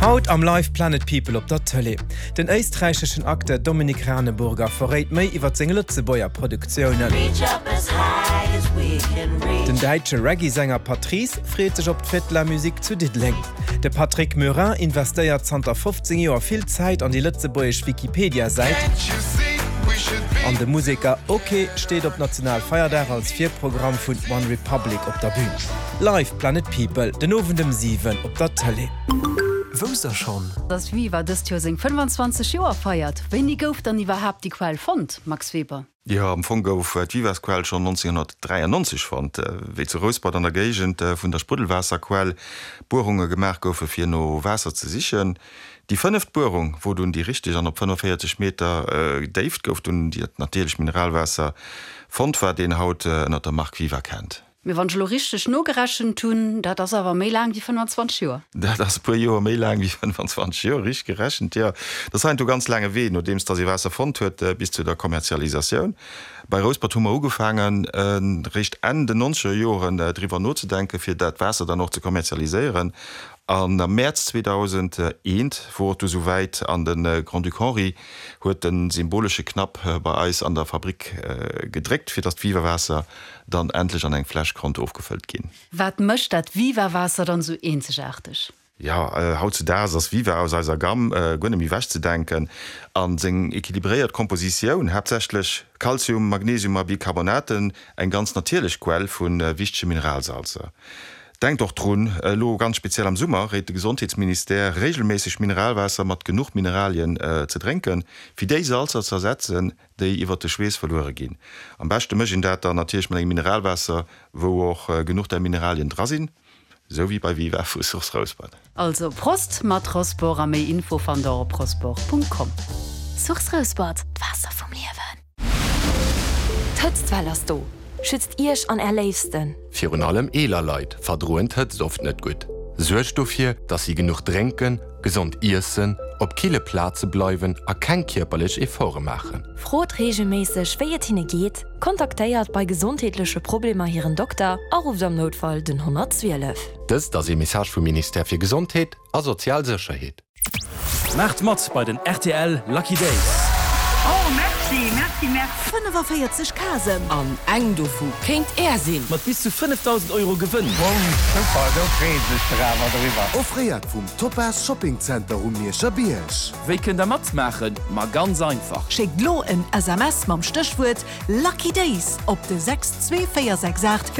Haut am Live Planet People op der Tëlee. Den éisträicheschen Acteur Dominik Raneburger verréit méi iwwer seng Lëtzebuerger Produktiounen. Den däitsche Reggae-Sänger Patrice freet sech op d'Fête de la Musique zu Diddeleng. De Patrick Murin investéiert zanter 15 Joer vill Zäit an déi lëtzebuergesch Wikipedia-Säit. An de Museker Oké steet op Nationalfeierdag als Virprogramm vun One Republic op der Bün. Live Planet People den Owend ëm 7 op der Tëlee. Wousst der schonn? Dass Viva dëst Joer seng 25 Joer feiert. Wéini gouf dann iwwerhaapt déi Quell fonnt, Max Weber? Jo, am Fong gouf d'Vivasquell schonn 1993 fonnt, wéi zu Rouspert an der Géigend vun der Spruddelwaasserquell Buerunge gemaach goufe fir no Waasser ze sichen. Déi fënneft Buerung wor dunn déi richteg an op 45 Meter Déift gouf dunn dat natierlecht Mineralwaasser fonnt, wat een haut ënner der Mark Viva kennt. Mee wann ech elo richteg nogerechent hunn, dat ass awer méi laang wéi 25 Joer. Dat ass e puer Joer méi laang wéi 25 Joer, richteg gerechent, jo. Dat ass heiansdo ganz laange Wee, nodeems dass ee Waasser fonnt huet, bis zu der Kommerzialisatioun. Bei Rouspert hu mer ugefaangen, réischt Enn den nonzeger Joren driwwer nozedenken, fir dat Waasser dann och ze kommerzialiséieren. An am Mäerz 2001 wor et du sou wäit an de Grand-Duc Henri huet de symbolesche Knapp bei eis an der Fabrik gedréckt, fir dass d'Viva-Waasser dann endlech an eng Fläsch konnt ofgefëllt ginn. Wat mécht dat Viva-Waasser dann esou eenzegaarteg? Jo, hautzudaags ass Viva aus eiser Gamm guer net méi ewechzedenken. A seng equilibréiert Kompositioun, haaptsächlech Kalzium, Magnesium a Bicarbonaten, eng ganz natierlech Quell vu wichtege Mineralsalzer. Denkt och drun, elo ganz speziell am Summer réit de Gesondheetsministère regelméisseg Mineralwaasser mat genuch Mineralien ze drénken, fir déi Salzer ze ersetzen, déi iwwert de Schweess verluere ginn. Am beschte mécht een dat dann natierlech mat engem Mineralwaasser, wou och genuch där Mineralien dra sinn, esou wéi bei Viva vu Source Rouspert. Also Prost mat Rosport a méi Info fannt der op rosport.com. Source Rouspert, d'Waasser vum Liewen. D'Hëtztwell ass do! Schützt Iech an Är Léifsten! Virun allem eeler Leit verdroen d'Hëtzt oft net gutt. Suergt dofir, dass si genuch drénken, gesond iessen, op kille Plaze bleiwen a keng kierperlech Efforte maachen. Frot reegelméisseg, wéi et hinne geet, kontaktéiert bei gesondheetleche Problemer hiren Dokter a rufft am Noutfall den 112. Dëst ass ee Message vum Ministère fir Gesondheet a sozial Sécherheet. Maacht mat bei den rtl Lucky Days! Oh merci, merci, merci. 45 Casen. An eng dovu kéint Är sinn! Mat bis zu 5.000 Euro Gewënn! Super, do freeë sech der awer driwwer. Offréiert vum Topaz Shopping Center um Mierscher Bierg. Wéi kënnt der matmaachen? Ma ganz einfach! Schéckt lo en SMS mam Stéchwuert Lucky Days op de 62468.